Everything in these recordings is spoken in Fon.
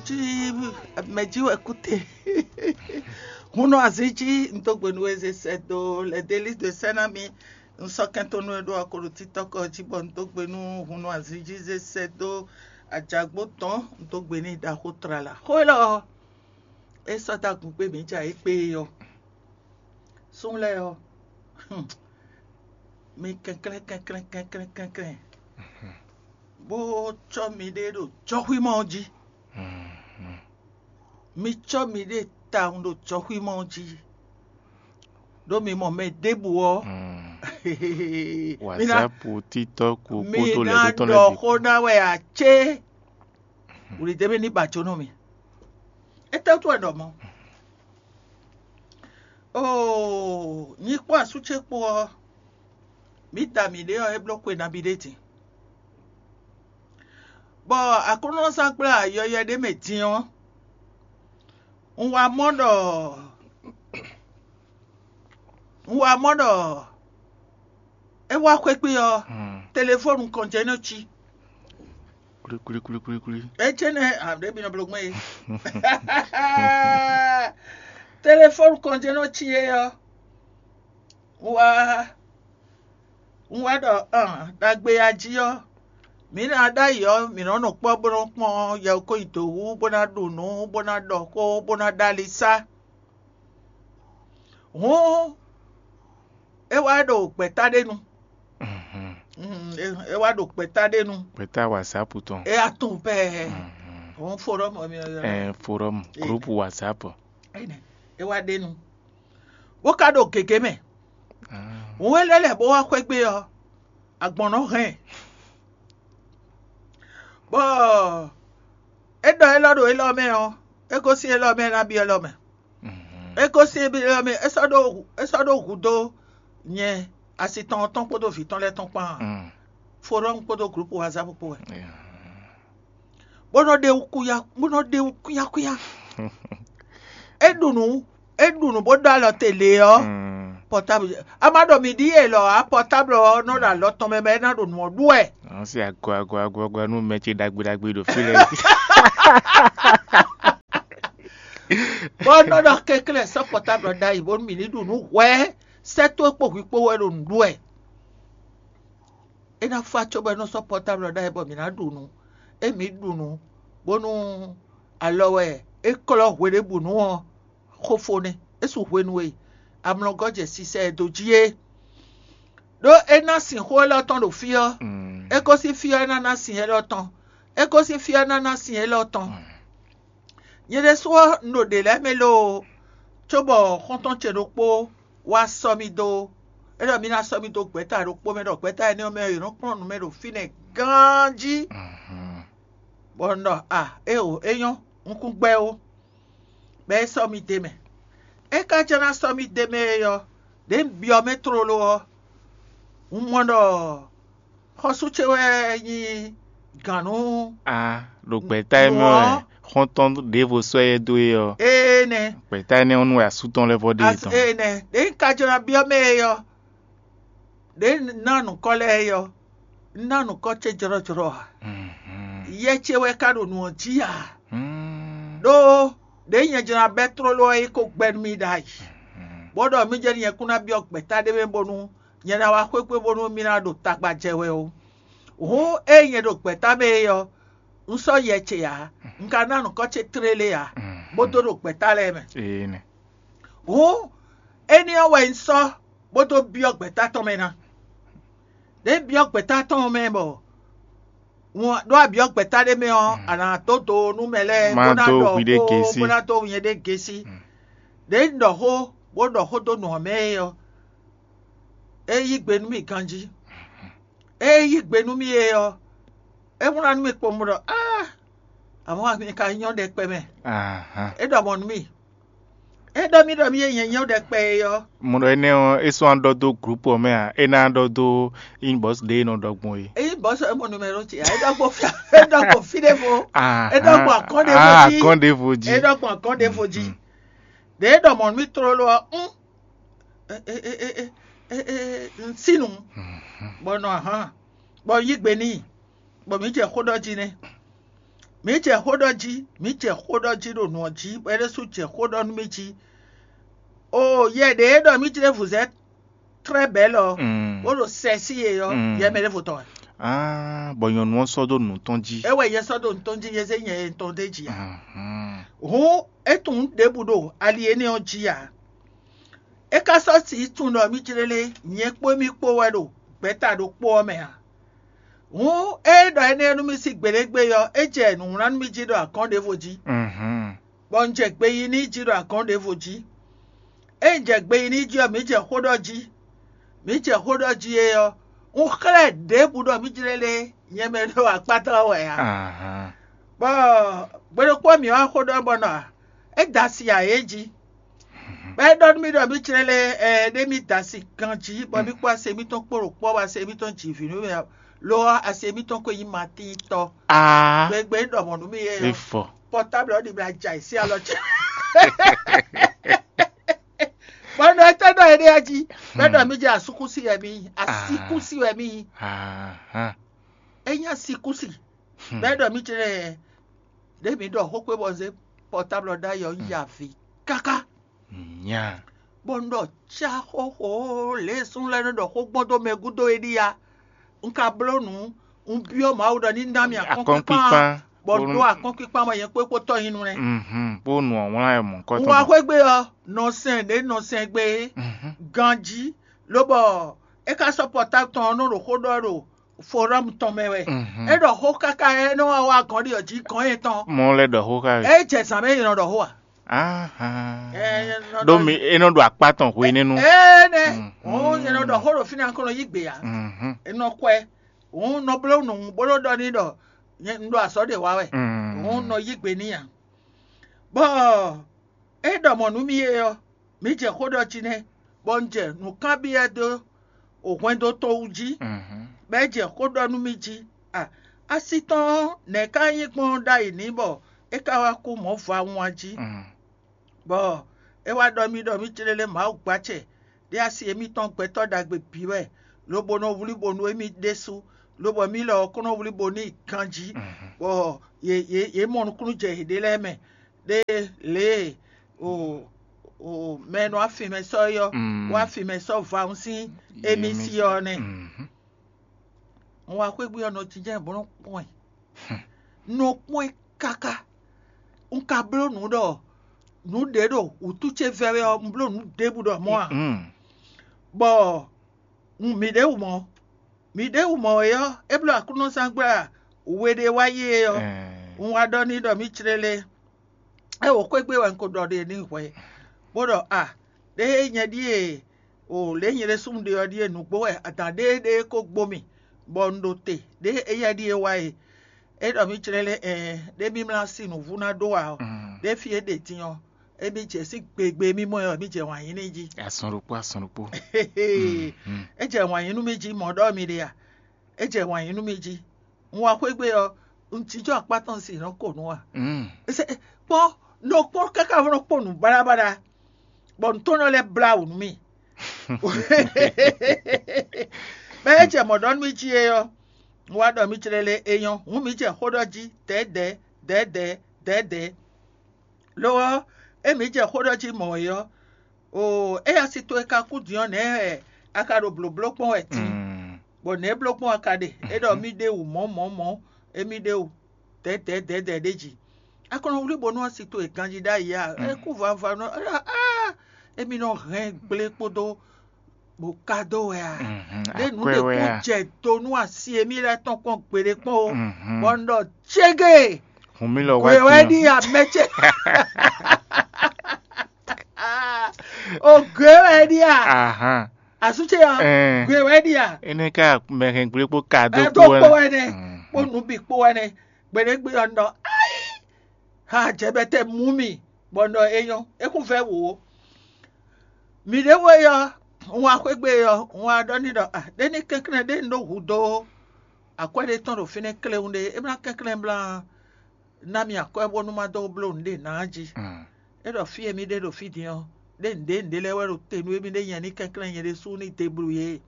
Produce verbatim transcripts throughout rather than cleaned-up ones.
Jí mɛ jí wɛ kú te. Hun nɔ azin jí, un dó gbe nú we zé sɛ́ dó les délices de Saint-Nami. Un sɔ́ kɛntɔ́ nú we ɖó akoɖotítɔ́ kɔ jí bɔ un dó gbe nú hun nɔ azin jí zé sɛ́ dó ajagbó tɔn, un dó gbe n'i ɖaxó tlala. Xó élɔ́ ɔ́, é sɔ́ dó agun kpé mǐ ja é kpé é ɔ́. Súnnu lɛ́ɛ ɔ́, mi kɛnklɛ́n kɛnklɛ́n kɛnklɛ́n kɛnklɛ́n, bó cɔ́ miɖée ɖo jɔxwímɔ ɔ́ jí. Mi cɔ́ miɖée tawun ɖo jɔxwímɔ ɔ́ jí, ɖó mi mɔ mɛ ɖěbǔ ɔ́. Mi ná, WhatsApp, TikTok mi kpódó ná lɛ̌ tó tɔn ɖɔ lɛ́ɛ bǐ. Xó ná wɛ a cé. Wǔlidémɛ ní ba jó nú mi. Étɛ́ wútu wɛ ɖɔ mɔ̌? Oo, nyi kpó asú ce kpó ɔ́, mǐ da mǐɖée ɔ́, é bló xwe nabí ɖé din. Bɔ Aklúnɔzángbláyɔ́yɔ́ ɖé mɛ din ɔ́, un wá mɔ ɖɔ un wá mɔ ɖɔ é wá xwé kpé ɔ́, telefónu kɔn jɛ́n nɔ cí. Kwlíkwlíkwlíkwlí. É jɛ́n nɛ́, a ɖě mi nɔ bló gbɔn é. Telefónu kɔn jɛ́n nɔ cí é ɔ́, un wá un wá ɖɔ ɔn, ɖagbe ya jí ɔ́, mǐ ná ɖ'ayǐ ɔ́, mǐ nɔ́ nɔ kpɔ́ bó nɔ́ kpɔ́n yɛwúkɔ́nyi dǒ wú, bó ná ɖu nǔ, bó ná ɖɔ xó, bó ná ɖó alisá. Hǔn é wá ɖo gbɛ̌ta ɖé nu. Mm, é é wá ɖo gbɛ̌ta ɖé nu. Gbɛ̌ta WhatsApp tɔn. É wá tunwun pɛɛ. Hǔn foɖɔ́mɔ mi ɔ́. Ɛn forum, groupe WhatsApp. Énɛ́, é wá ɖe nu, bó ka ɖo gěgé mɛ. Hǔn é lɛ́ lɛ̌ bó wá xwé gbe ɔ́, agbɔ̌n nɔ hɛn ɛ. Bɔ é ɖɔ élɔ́ ɖo élɔ́ mɛ ɔ́, é gosín élɔ́ mɛ ná byɔ́ élɔ́ mɛ. É gosín élɔ́ mɛ, é sɔ́ ɖó é sɔ́ ɖó hǔ dó nyɛ asi tɔn ɔ́ tɔn kpódó vǐ tɔn lɛ́ɛ tɔn kpán. Forum kpódó groupe WhatsApp kpó wɛ. Bó nɔ ɖe wú kúnya bó nɔ ɖe wú kúnya kúnya. É ɖu nǔ é ɖu nǔ bó ɖó alɔ te lě ɔ́, pɔtábl a ma ɖɔ mǐ ɖíe lɔ ǎ, pɔtábl ɔ́ nɔ ɖo alɔ tɔn mɛ bɔ é ná ɖo nǔ ɔ́ ɖu wɛ. Àwọn sì àgọ́ àgọ́ àgọ́ àgọ́ nú mɛ ce ɖagbe ɖagbe ɖo fí lɛ́ɛ. Bó nɔ ɖɔ kɛnklɛ́n sɔ́ pɔtábl ɔ́ ɖ'ayǐ bónú mǐ ní ɖu nǔ hwɛ̌, sɛ́ towe kpó hwi kpó wɛ ɖo nǔ ɖu wɛ. É ná fá cóbɔ é nɔ sɔ́ pɔtábl ɔ́ ɖ'ayǐ bɔ mǐ ná ɖu nǔ. Ée mǐ ɖu nǔ bónú alɔ wɛ é klɔ́ hweɖěbǔnu ɔ́, xo fó nɛ́. É su hwenu e amlɔgɔ́ jɛ sisɛ ɛ dó jí é. Ɖó é ná sin xó élɔ́ tɔn ɖo fí ɔ́, é gosín fí ɔ́ é ná ná sin élɔ́ tɔn. É gosín fí ɔ́ é ná ná sin élɔ́ tɔn. Nyɛ ɖésú ɔ́, un ɖo ɖě lɛ́ɛ mɛ loo, cóbɔ xɔ́ntɔn ce ɖokpó wá sɔ́ mì dó. É ɖɔ mì ná sɔ́ mì dó gbɛ̌ta ɖokpó mɛ, ɖɔ gbɛ̌ta énɛ́ ɔ́ mɛ ɔ́, yě nɔ kplɔ́n nǔ mɛ ɖo fínɛ́ ganjí. Bɔ un ɖɔ a éeǒ, é nyɔ́, un kún gbɛ́ ó. Bɔ é sɔ́ mì d'é mɛ. É ka jɛ́n ná sɔ́ mì d'é mɛ é ɔ́, ɖěe un byɔ́ mɛ tlóló ɔ́, un mɔ ɖɔ xɔ́sú ce wɛ nyí gǎn nú A ɖo gbɛ̌ta e mɛ wɛ xɔ́ntɔn ɖěvo sɔ́ ɛ dó é ɔ́, énɛ́. Gbɛ̌ta énɛ́ ɔ́ nú wɛ asú tɔn lɛ́ vɔ ɖe é tɔn. Énɛ́ ɖě un ka jló ná byɔ́ mɛ é ɔ́, ɖě un ná nǔkɔ lɛ́ɛ é ɔ́, un ná nǔkɔ ce jlɔ́jlɔ́ ǎ. Yɛ ce wɛ ka ɖo nǔ ɔ́ jí ǎ. Ɖó ɖě nyɛ jló ná bɛ́ tlóló ɔ́ é ko gbɛ́ nú mì ɖ'ayǐ, bó ɖɔ mì jɛ́n nyɛ kún ná byɔ́ gbɛ̌ta ɖé mɛ bónú nyɛ ná wá xwéxwé bónú mì ná ɖo tagba jɛ wɛ ó. Hǔn ée nyɛ ɖo gbɛ̌ta mɛ é ɔ́, un sɔ́ yɛ ce ǎ; un ka ná nǔkɔ ce tlélé ǎ, bó dó ɖo gbɛ̌ta lɛ́ɛ mɛ. Ee nɛ. Hǔn éní ɔ́ wɛ un sɔ́ bó dó byɔ́ gbɛ̌ta tɔn mɛ ná. Ɖě un byɔ́ gbɛ̌ta tɔn mɛ bɔ un ɖó abyɔ́ gbɛ̌ta ɖé mɛ ɔ́, a nǎ dó do nú mɛ lɛ́ɛ Má bó ná dó ɖɔ hwi ɖé xó gěsí. Bó ná dó nyɛ ɖé gěsí. Ɖě un ɖɔ xó bó ɖɔ xó dó nǔ ɔ́ mɛ é ɔ́, é yí gbe nú mì ganjí. É yí gbe nú mì é ɔ́, é wlán nú mì kpowun ɖɔ áa, amɔ̌ mi ka nyɔ́ ɖɛkpɛ mɛ. Ahan. É ɖɔ mɔ̌ nú mì. É ɖɔ mì ɖɔ mì e nyɛ nyɔ́ ɖɛkpɛ é ɔ́, Mo ɖɔ énɛ́ ɔ́, é sɔ́ ná ɖɔ dó groupe ɔ́ mɛ a? É ná ɖɔ dó inbox ɖé e nɔ ɖɔ gbɔn é. Eyi bɔsɔ emo numero ti a, eɖɔ gbɔ fia, eɖɔ gbɔ fi ɖe vo, Ah, eɖɔ gbɔ akɔn ɖe vo ah, dzi, akɔn ɖe vo dzi. Eɖɔ gbɔ akɔn ɖe vo dzi. Ɖe eɖɔ mɔ mi tlolo ɔ, un, e e e e e e e nsinu, bɔ nɔ ahan, bɔ yi gbe n'i, bɔ mi jɛ xó ɖɔ jí nɛ. Mǐ jɛ xó ɖɔ jí, mǐ jɛ xó ɖɔ jí ɖo nǔ ɔ́ jí, bɔ é ɖésú jɛ xó ɖɔ nú mì jí. O yɛ ɖě e ɖɔ mǐ jlé vǔzɛ́ tlɛ́ bɛ̌ lɔ, bó ɖo sɛ sí yě ɔ́, yɛ mɛ ɖěvo tɔn wɛ. Ah, bɔ nyɔ̌nu ɔ́ sɔ́ dó nǔ tɔn jí. É wɛ yɛ sɔ́ ɖo nǔ tɔn jí, yɛ zé nyɛ tɔn d'é jí ǎ. Hǔn é tunwun ɖěbǔ ɖo ali énɛ́ ɔ́ jí ǎ. É ka sɔ́ sǐ tunwun ɖɔ mí jlélé, nyɛ kpó émí kpó wɛ ɖo gbɛ̌ta ɖokpó ɔ́ mɛ ǎ. Hǔn ée ɖɔ énɛ́ nú mì sín gbeɖégbé ɔ́, é jɛ nǔwlán nú mì jí ɖo agɔ̌n ɖěvo jí, bɔ un jɛ gbe yi n'i jí ɖo agɔ̌n ɖěvo jí. Ée un jɛ gbe yi n'i jí ɔ́, mǐ jɛ xó ɖɔ jí. Mǐ jɛ xó ɖɔ jí é ɔ́, un xlɛ́ ɖěbǔ ɖɔ mí jlélé nyɛ mɛ ɖo akpá tɔn ɔ́ wɛ ǎ. Bɔ gbe ɖokpó ɔ́ mǐ wá xó ɖɔ bɔ nɔ ǎ, é da asi ǎ é jí. Bɔ é ɖɔ nú mì ɖɔ mí jlélé ɛ ɖé mì da asi ganjí, bɔ mí kpó asi émítɔn kpó ɖo kpɔ́, bɔ asi émítɔn ji vǐ nú mì, lo ɔ́, asi émítɔn ko nyí matíntɔ́. Aa, Gbegbe é ɖɔ mɔ̌ nú mì é é ɔ́, fɔ. Pɔtáblɛ ɔ́ ɖi mì aja yi sí alɔ ce. Bɔ nɔ étɛ́ ɖɔ éɖée jí? Bɔ é ɖɔ mí jɛ asúkúsi wɛ mí, asíkúsi wɛ mí. Ahan. É nyí asíkúsi. Bɔ é ɖɔ mí jɛ ɖé mǐ ɖɔ xó kpé bɔ zé pɔtáblɛ ɔ́ ɖ'ayǐ ɔ́, un yi avǐ káká. Nya. Bɔ un ɖɔ cá xóxó lě e súnnu lɛ́ɛ nɔ ɖɔ xó gbɔn dó mɛ gúdo é ɖíe a? Un ka bló nǔ, un byɔ́ Mawu ɖɔ ní ná mì akɔ́nkpíkpán, bɔ ɖó akɔ́nkpíkpán bɔ nyɛ kpó kpó tɔ́ nyi nu nɛ́. Mhm, bó nu ɔ́ wlán ɛ mɔ̌kɔ́tɔn. Un wá xwé gbe ɔ́, nɔ sɛn ɖě nɔ sɛn gbe é, ganjí, lobɔ é ka sɔ́ pɔtáblɛ tɔn ɔ́ nɔ ɖo xó ɖɔ ɖo forɔ́mu tɔn mɛ wɛ. É ɖɔ xó káká, é nɔ wá wá gɔ̌n ɖi ɔ́ jí gɔ̌n yětɔn. Mɔ lɛ́ ɖɔ xó ká wɛ. É jɛ zǎn mɛ é nɔ ɖɔ xó a? Ahan. Ɛ, é nɔ ɖó ɖɔ mi é nɔ ɖo akpá tɔn hwenɛ́nu. Énɛ́, òun nyɛ nɔ ɖɔ xó ɖo fínɛ́ kɔnɔ yí gbe ǎ. Mhm. É nɔ kwɛ. Òun nɔ bló nǔ bó ɖó ɖɔ n'i ɖɔ nyɛ un ɖo azɔ̌ ɖě wa wɛ. Mm. Òun nɔ yí gbe n'i ǎ. Bɔ é ɖɔ mɔ̌ nú mì é ɔ́, mǐ jɛ xó ɖɔ jí nɛ́, bɔ un jɛ nǔkanbyɔ́ dó hwɛndo tɔn wú jí, bɔ é jɛ xó ɖɔ nú mì jí. A, asi tɔn ɔ́, nɛ̌ ka nyí gbɔn ɖ'ayǐ n'i bɔ é ka wá kú mɔ̌ vawun a jí? Bɔ é wá ɖɔ mì ɖɔ mǐ clélé Mawu gbacɛ ɖé asi émítɔn gbɛtɔ́ ɖagbe bǐ wɛ, lobo nɔ wlí bo nú émí ɖésú, lobɔ mǐ lɔ ɔ́ kɔn nɔ wlí bo n'i ganjí, bɔ yě yě yě mɔ nukúnnú jɛ yěɖée lɛ́ɛ mɛ, ɖé lě e o o mɛ e nɔ wá fin mɛ sɔ́ é ɔ́ wá fin mɛ sɔ́ vawun sín émí sí ɔ́ nɛ́. Un wá xwé gbe ɔ́ nɔ jínjɔ́n bó nɔ́ kpɔ́n ɛ. Un nɔ kpɔ́n ɛ káká. Un ka bló nǔ ɖɔ nǔ ɖě ɖo wǔtu ce vɛ́ wɛ ɔ́, un bló nǔ ɖěbǔ ɖɔ mɔ̌ ǎ. Bɔ un mǐ ɖě wú mɔ̌. Mǐ ɖěbǔ mɔ̌ é ɔ́, é bló aklúnɔzángbla we ɖé wá yi é ɔ́, un wá ɖɔ n'i ɖɔ mǐ clélé. É wǒ xwé gbe wɛ un ko ɖɔ ɖe n'i hwɛ, bó ɖɔ a, ɖěe nyɛ ɖíe o lě nyɛ ɖésú un ɖe ɔ́ ɖíe nǔgbó wɛ adǎn ɖéeɖée ko gbo mì, bɔ un ɖo te ɖě éyɛ́ ɖíe wá e. É ɖɔ mǐ clélé ɛɛ, ɖé mí mlá sí nǔvú ná ɖó ǎ ɔ́, ɖě fí é ɖe din ɔ́, émí jɛ sín gbegbe émí mɔ ɛ ɔ́, mǐ jɛ wǎn yí n'i jí. Asɔn ɖokpó, asɔn ɖokpó. É jɛ wǎn yí nú mì jí mɔ̌ ɖɔ mi ɖe a? É jɛ wǎn yí nú mì jí. Un wá xwé gbe ɔ́, un jínjɔ́n akpá tɔn sin nɔ ko nǔ a? Kpɔ́n nɔ kpɔ́n káká nɔ kpɔ́n nǔ baɖabaɖa, bɔ nǔ tɔn nɔ lɛ́ blá wǔ nú mì. Mɛ e jɛ mɔ̌ ɖɔ nú mì jí é ɔ́, un wá ɖɔ mì clélé é nyɔ́, hǔn mǐ jɛ xó ɖɔ jí dɛ̌dɛ̌ dɛ̌dɛ̌ dɛ̌dɛ̌. Lo ɔ́, ée mǐ jɛ xó ɖɔ jí mɔ̌ é ɔ́, oo, éyɛ́ asi towe ka kú din ɔ́, nɛ̌ wɛ a ka ɖo blǒbló kpɔ́n wɛ din? Bɔ nɛ̌ bló kpɔ́n a ka ɖe? É ɖɔ mì ɖe wǔ mɔ̌ mɔ̌ mɔ̌, émí ɖe wǔ dɛ̌dɛ̌ dɛ̌dɛ̌ ɖé jí. A ko nɔ wlí bónú asi towe ganjí ɖ'ayǐ a? É kú vava nɔ, émí nɔ hɛn gblé kpódó bó ka dó wɛ a? Ɖé nǔ ɖě kún jɛ do nú asi e mì lɛ́ tɔn kpɔ́n gbeɖé kpɔ́n o, bɔ un ɖɔ cége. Hǔn mì lɔ wá wɛ din. Ɖi amɛ ce. O gbe wɛ ɖi a? Ahan. Asú ce ɔ́, gbe wɛ ɖi a? Énɛ́ ká mɛ hɛn gblé kpó ka dó kpó wɛ nɛ. Kpó nǔ bǐ kpó wɛ nɛ. Gbeɖé gbe ɔ́ un ɖɔ ayi. Ha jɛbɛtɛ mú mì, bɔ un ɖɔ é nyɔ́, é kún vɛ́ wǒ. Mǐ ɖěvo e ɔ́, un wá xwé gbe ɔ́, un wá ɖɔ n'i ɖɔ a, ɖé ní kɛnklɛ́n ɖé un ɖó hudó akwɛ́ ɖé tɔn ɖo fínɛ́ kléwún ɖé, é blá kɛnklɛ́n blá ná mì akwɛ́ bónú má dó bló nǔɖé ná jí. É ɖɔ fí e mì ɖe ɖo fí din ɔ́, ɖé nǔɖé nǔɖé lɛ́ɛ wɛ ɖo te nú émí ɖé nyɛ ní kɛnklɛ́n nyɛ ɖésú ní deblú yě.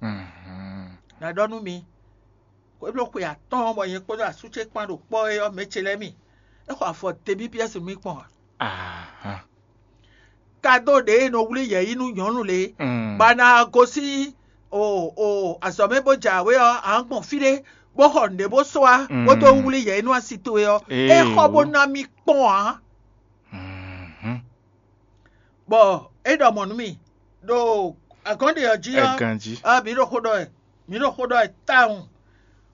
Nǎ ɖɔ nú mi, é bló xwe atɔ́ɔ́n bɔ nyɛ kpódó asú ce kpán ɖo kpɔ́ é ɔ́, mɛ ce lɛ́ɛ mi. é xɔ afɔ Tebípiɛ́si nú mì kpɔ́n ǎ. Kadó ɖě e nɔ wlí yɛ̌yi nú nyɔ̌nu lě, bɔ a ná gosín o o azɔ̌ mɛ bó jɛ awě ɔ́, a nǎ gbɔn fí ɖé bó xɔ nǔɖé bó sɔ́ wá, bó dó wlí yɛ̌yi nú asi towe ɔ́, é xɔ bó ná mì kpɔ́n ǎ. Bɔ é ɖɔ mɔ̌ nú mì ɖo agɔ̌nɖe ɔ́ jí ɔ́, mǐ ɖo xó ɖɔ wɛ, mǐ ɖo xó ɖɔ wɛ tawun.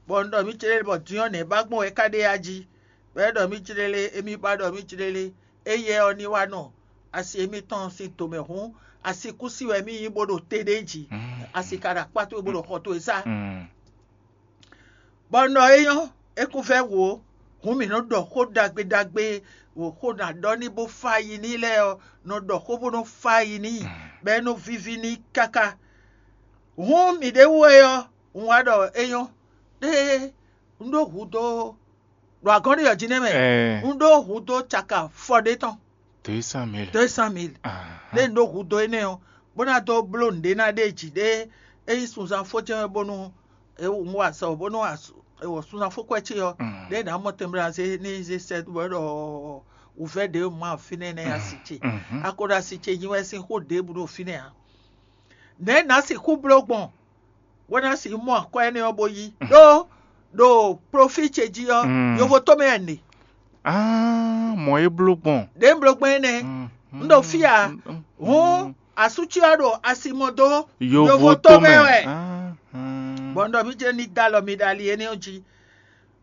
Bɔ un ɖɔ mì céɖéɖé bɔ din ɔ́ nɛ̌ ba gbɔn wɛ é ka ɖe yá jí? Bɔ é ɖɔ mì céɖéɖé, émí ba ɖɔ mì céɖéɖé, éyɛ́ ɔ́ ní wá nɔ asi émítɔn sín tomɛ hǔn, asi kú sí wɛ mì nyí bó ɖo te ɖé jí, asi ka ɖo akpá towe bó ɖo xɔ towe sá. Bɔ un ɖɔ é nyɔ́, é kún vɛ́ wǒ, hǔn mǐ nɔ ɖɔ xó ɖagbe ɖagbe, xó nɔ ɖɔ n'i bó fá yi n'i lɛ́ɛ ɔ́, nɔ ɖɔ xó bó nɔ fá yi n'i, bɔ é nɔ víví n'i káká. Hǔn mǐɖée wú é ɔ́, un wá ɖɔ é nyɔ́, ɖé un ɖó hǔ dó ɖo agɔ̌nɖi ɔ́ jí nɛ́ mɛ, un ɖó hǔ dó caka fɔ ɖé tɔn. Deux cent mille. Deux cent mille. Ɖé un ɖó hǔ dó énɛ́ ɔ́, bó ná dó bló nǔɖé ná ɖe jǐ ɖé, é nyí sunzán fó jɛ́n wɛ bónú un wa azɔ̌ bónú sunzán fó kwɛ́ ce ɔ́, ɖé nǎ mɔ tɛnmɛ zé ní zé sɛ́ bɔ é ɖɔ wǔvɛ́ ɖě ma fínɛ́ nɛ́ asi ce. A ko ɖo asi ce nyi wɛ sín xó ɖěbǔ ɖo fínɛ́ ǎ. Nɛ̌ nǎ sixú bló gbɔn bó ná sixú mɔ akwɛ́ énɛ́ ɔ́ bó yí? Ɖó ɖo plofí ce jí ɔ́, yovo tɔn mɛ wɛ un ɖe. Mɔ̌ é bló gbɔn. Ɖě un bló gbɔn énɛ́, un ɖo fí ǎ. Hǔn asú ce ɔ́ ɖo asi mɔ dó yovo tɔn mɛ wɛ. Bɔ un ɖɔ mì jɛ ní dó alɔ mi ɖo ali énɛ́ ɔ́ jí.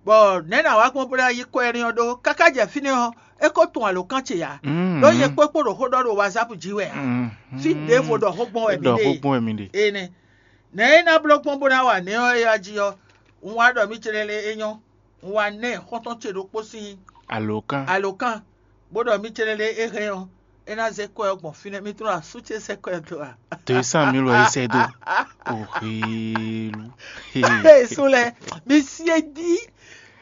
Bɔ nɛ̌ nǎ wá gbɔn bó ná yí kɔ énɛ́ ɔ́ ɖó? Káká jɛ fínɛ́ ɔ́, é ko tunwun alǒkan ce ǎ. Ɖó nyɛ kpókpó ɖo xó ɖɔ ɖo wazáp jí wɛ ǎ. Fí ɖěvo ɖɔ xó gbɔn wɛ mǐ ɖe. Énɛ́. Nɛ̌ é ná bló gbɔn bó ná wa nɛ̌ ɔ́ é wá jí ɔ́, un wá ɖɔ mì céɖéɖé é nyɔ́. Un wá ná ɛ xɔ́ntɔn ce ɖokpó sín alǒkan, bó ɖɔ mì céɖéɖé é hɛn ɔ́, é ná zé kɔ́ ɛ gbɔn fínɛ́. Mi tunwun asú ce sɛ́ kɔ́ ɛ dó a? Deux cent mille wɛ é sɛ́ dó. Oxélu. Sú lɛ, mi sie dí,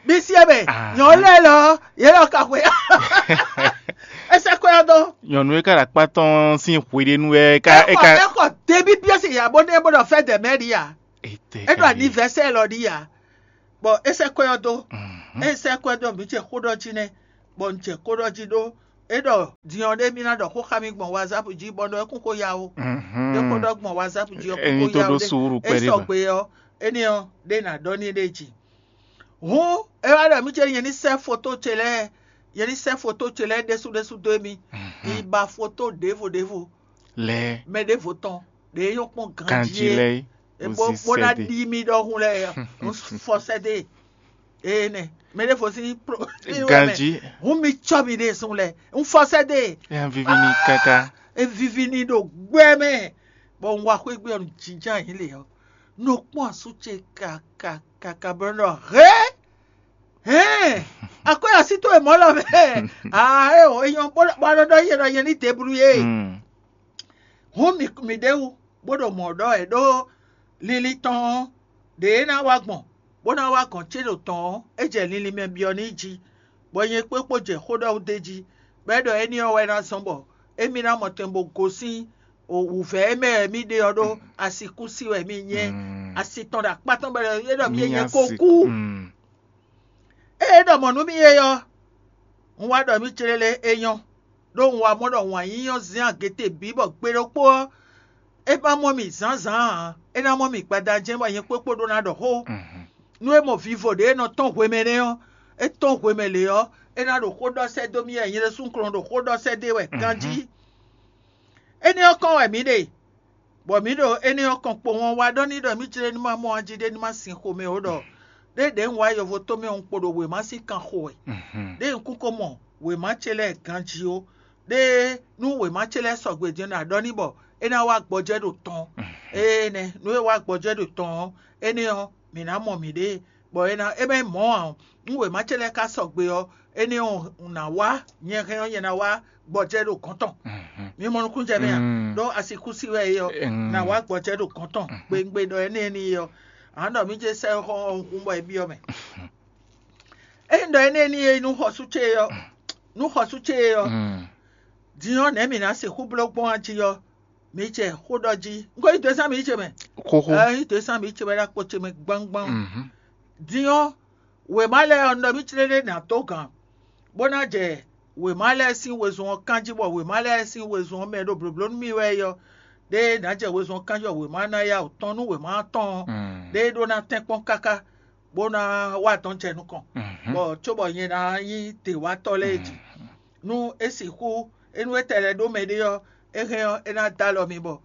mi sie mɛ. Nyɔ̌ lɛ́ɛ lɔ, yě lɔ ka xwe. É sɛ́ kɔ́ ɛ dó. Nyɔ̌nu e ka ɖo akpá tɔn sín hweɖénu wɛ é ka é ka. É xɔ Tebípiɛ́si ya bó nɛ́ bó ɖɔ fɛ́ dɛ̌ mɛ ɖi a? É ɖo anivɛsɛ́ lɔ ɖi a? Bɔ é sɛ́ kwɛ́ ɔ́ dó. É sɛ́ kwɛ́ dó mǐ ce xó ɖɔ jí nɛ́, bɔ un jɛ xó ɖɔ jí ɖó é ɖɔ din ɔ́ ɖé mì ná ɖɔ xó xá mì gbɔn wazáp jí bɔ ɖɔ é kún xó ya ó. É xó ɖɔ gbɔn wazáp jí ɔ́ kún xó ya ó ɖé. É sɔgbe ɔ́, énɛ́ ɔ́ ɖé ná ɖɔ n'i ɖ'é jí. Hǔn é wá ɖɔ mì ce nyɛ ní sɛ́ foto ce lɛ́ɛ, nyɛ ní sɛ́ foto ce lɛ́ɛ ɖésú ɖésú dó émí. Mi ba foto ɖěvo ɖěvo lɛ́ɛ mɛ ɖěvo tɔn ɖě nyɔ́ kpɔ́n ganjí lɛ́ɛ é. Bó ná ɖi mì ɖɔhun lɛ́ɛ, un fɔ sɛ́ dó e. Ee nɛ, mɛ ɖěvo sín ganjí. Hǔn mi cɔ́ mi ɖe sun lɛ, un fɔ sɛ́ dó e. É viví n'i káká. É viví n'i ɖo gbɛ mɛ, bɔ un wá xwé gbé ɔ́, jínjɔ́n ayǐ lě ɔ́, nɔ kpɔ́n asú ce kaka kaka bɔ nɔ hɛn hɛn akwɛ́ así towe mɔ̌ lɔ mɛ. Aa é o, é nyɔ́ bó bó nɔ ɖɔ yě ɖɔ nyɛ ní deblu yé. Hǔn mǐ mǐ ɖ'é wú, bó ɖo mɔ̌ ɖɔ wɛ ɖó linlin tɔn ɔ́, ɖě é ná wá gbɔn, bó ná wá gɔ̌n ce ɖo tɔn ɔ́, é jɛ linlin mɛ byɔ́ n'i jí, bɔ nyɛ kpókpó jɛ xó ɖɔ wú d'é jí, bɔ é ɖɔ éní ɔ́ wɛ ná zɔ́n bɔ émí ná mɔ tɛn bó gosín wǔvɛ́ e mɛ wɛ mì ɖe ɔ́ ɖó asi kú sí wɛ mì nyɛ. Asi tɔn ɖo akpá tɔn bɔ é ɖɔ mì nyɛ ko kú. Ée é ɖɔ mɔ̌ nú mì é ɔ́, un wá ɖɔ mì clélé é nyɔ́, ɖó un wá mɔ ɖɔ wǎn yíyí ɔ́ zɛ́n agěte bǐ bɔ gbe ɖokpó ɔ́, é ma mɔ mì zǎnzǎn ǎ; é ná mɔ mì gbada jɛ́n bɔ nyɛ kpókpó ɖó ná ɖɔ xó. Nú é mɔ vivo ɖě e nɔ tɔ́n hwemɛ nɛ́ ɔ́, é tɔ́n hwemɛ lě ɔ́, é ná ɖo xó ɖɔ sɛ́ dó mì wɛ nyɛ ɖésú un kɔn ɖo xó ɖɔ sɛ́ dó e wɛ ganjí. Énɛ́ ɔ́ kɔn wɛ mǐ ɖe, bɔ mǐ ɖo énɛ́ ɔ́ kɔn kpowun ɔ́ wá ɖɔ n'i ɖɔ mǐ jlé ní ma mɔ ají ɖé ní ma sin xomɛ ó ɖɔ ɖé ɖě un wá yovo tomɛ ɔ́ un kpo ɖo wěma sín kan xo wɛ. Ɖé un kún ko mɔ wěma ce lɛ́ɛ ganjí ó. Ɖé nú wěma ce lɛ́ɛ sɔgbe din ɔ́, nǎ ɖɔ n'i bɔ é ná wá gbɔjɛ́ ɖo tɔn. Énɛ́ nú é wá gbɔjɛ́ ɖo tɔn ɔ́, énɛ́ ɔ́, mǐ ná mɔ mǐɖée, bɔ é ná é mɛ mɔ̌ ǎ. Nú wěma ce lɛ́ɛ ka sɔgbe ɔ́, énɛ́ ɔ́ un ná wá, nyɛ hɛn ɔ́, nyɛ ná wá gbɔjɛ́ ɖo gɔ̌n tɔn. Mi mɔ nukúnnú jɛ mɛ a? Ɖó asi kú sí wɛ é ɔ́, nǎ wá gbɔjɛ́ ɖo gɔ̌n tɔn gbengbe ɖɔ énɛ́ n'i é ɔ́. Ǎ nɔ mǐ jɛ sɛ́ xɔ ɔ́ hun bɔ é byɔ́ mɛ. Ényí ɖɔ énɛ́ n'i é nú xɔsú ce ɔ́, nú xɔsú ce ɔ́, din ɔ́, nɛ̌ mǐ ná sixú bló gbɔn ají ɔ́? Mǐ jɛ xó ɖɔ jí. Un ko yí dǒ e zán mǐ yi ce mɛ. Xóxó. Ɛ yí dǒ e zán mǐ yi ce mɛ ɖo akpo ce mɛ gbangban. Din ɔ́, wěma lɛ́ɛ ɔ́, un ɖɔ mǐ clé ɖé nǎ dó gǎn. bó ná jɛ wěma lɛ́ɛ sín wezun ɔ́ kán jí, bɔ wěma lɛ́ɛ sín wezun ɔ́ mɛ ɖo blǒbló nú mì wɛ é ɔ́, ɖé ná jɛ wezun ɔ́ kán jí, bɔ wěma ná yá wǔ tɔ́n nú wěma ɔ́ tɔn ɔ́, ɖé ɖó ná tɛ́nkpɔ́n káká, bó ná wá dɔn jɛ nukɔn, bɔ cóbɔ nyɛ ná nyí děwatɔ́ lɛ́ɛ jí. Nú é sixú, é nú é tɛ lɛ́ ɖó mɛɖé ɔ́, é hɛn ɔ́, é ná dó alɔ mi bɔ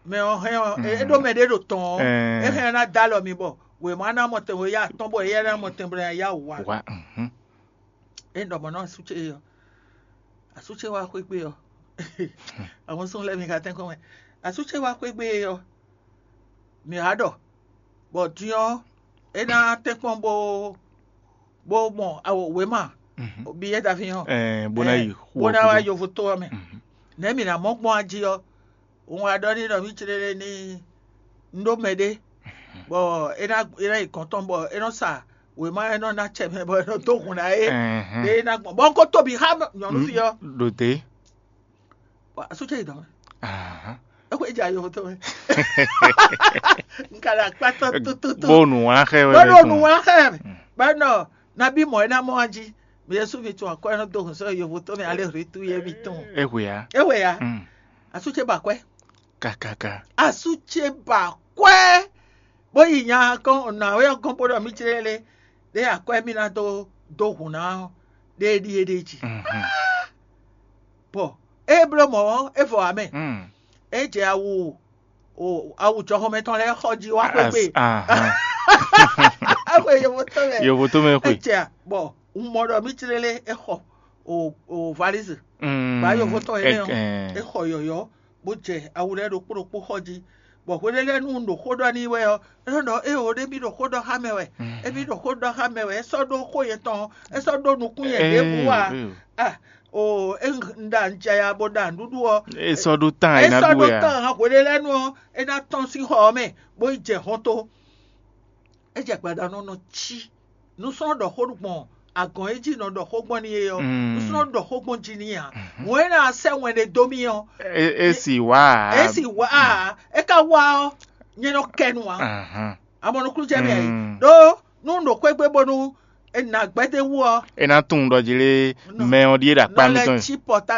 mɛ ɔ́ hɛn ɔ́, é ɖó mɛɖé ɖo tɔn ɔ́, é hɛn ɔ́ ná dó alɔ mi bɔ wěma ná mɔ tɛnbɔ yá atɔ́n bɔ éyɛ́ ná mɔ tɛnbɔ yá wǔ wá. Wá. É ɖɔ mɔ̌ nɔ asú ce ɔ́, asú ce wá xwé gbe ɔ́, àwọn sún lɛ́ɛ mi ka tɛ́nkɔ́n wɛ. Asú ce wá xwé gbe ɔ́, mǐ wá ɖɔ bɔ din ɔ́, é ná tɛ́nkpɔ́n bó bó mɔ awo wěma biyɛ́ daví ɔ́, Ɛɛ, bó ná yi xu bó ná wá gúdo. Yovo tó ɔ́ mɛ. Nɛ̌ mǐ ná mɔ gbɔn ají ɔ́? Un wá ɖɔ n'i ɖɔ mǐ clé lé ní un ɖó mɛɖé, bɔ é ná é ná yi gɔ̌n tɔn bɔ é nɔ sa wěma, é nɔ ná acɛ mɛ bɔ é nɔ dó hun ná é. Ɖé é ná gbɔn bɔ un ko tóbi xá nyɔ̌nu fí ɔ́. Ɖo dě. Asú ce yi dɔn mɛ. Ahán. É xwé jɛ ayo tó mɛ. Un ka ɖo akpá tɔn tututu. Bó nǔ wá xɛ wɛ. Bó ɖo nǔ wá xɛ. Bɛnɔ nabí mɔ é ná mɔ wá jí. Mɛ Yésu mi tún akɔ é nɔ dó hun sɔ́ yovo tó mɛ alé hritu yé mi tún. É hwe ya. É hwe ya. Asú ce ba kwɛ. Kakaka. Asú ce ba kwɛ. Bó yi nya kɔn nɔ awé ɔ́ gɔ́n bó ɖɔ mí jlé lé. Ɖé akwɛ mí ná dó dó hun ná ɔ́, ɖé ɖíe ɖé jí. Bɔ é bló mɔ̌ ɔ́, é vɔ ǎ mɛ. É jɛ awu o awu jɔhɔnmɛ tɔn lɛ́ɛ xɔ jí wá xwé gbe. Axwe yovo tɔn mɛ. Yovo tɔn mɛ xwe. É jɛ bɔ un mɔ ɖɔ mí tlélé é xɔ o o valise. Ba yovo tɔn énɛ́ ɔ́, é xɔ yɔ̌yɔ́, bó jɛ awu lɛ́ɛ ɖokpó ɖokpó xɔ jí. Bɔ hweɖé lɛ́ɛ nú un ɖo xó ɖɔ n'i wɛ ɔ́, é nɔ ɖɔ éeǒ ɖé mì ɖo xó ɖɔ xá mɛ wɛ. Émí ɖo xó ɖɔ xá mɛ wɛ, é sɔ́ ɖó xó yětɔn ɔ́, é sɔ́ ɖó nukún nyɛ ɖěbǔ ǎ. Ah, o é un ɖa un jɛ ya bó ɖa nǔɖuɖu ɔ́. É sɔ́ ɖó tán é ná ɖu wɛ ǎ. Tán hweɖé lɛ́ɛ nu ɔ́, é ná tɔ́n sín xɔ ɔ́ mɛ, bó yi jɛ hɔn tó. É jɛ gbada nɔ nɔ cí. Nusɔ́ ɖɔ xó gbɔn agɔn e jí nɔ ɖɔ xó gbɔn n'i é ɔ́, nusɔ́ ɖɔ xó gbɔn jí n'i ǎ. Mɔ̌ é ná sɛ́ wɛn ɖé dó mì ɔ́, é sì wá ǎ. É sì wá ǎ. É ka wá ɔ́, nyɛ nɔ kɛ nu ǎ. Amɔ nukúnnú jɛ mì ǎ é. Ɖó nú un ɖo xwé gbe bónú è nǎ gbɛ́ d'é wú ɔ́, É ná tunwun ɖɔ jí lé mɛ ɔ́ ɖíe ɖo akpá nɔ lɛ́ mitɔn. Cí pɔta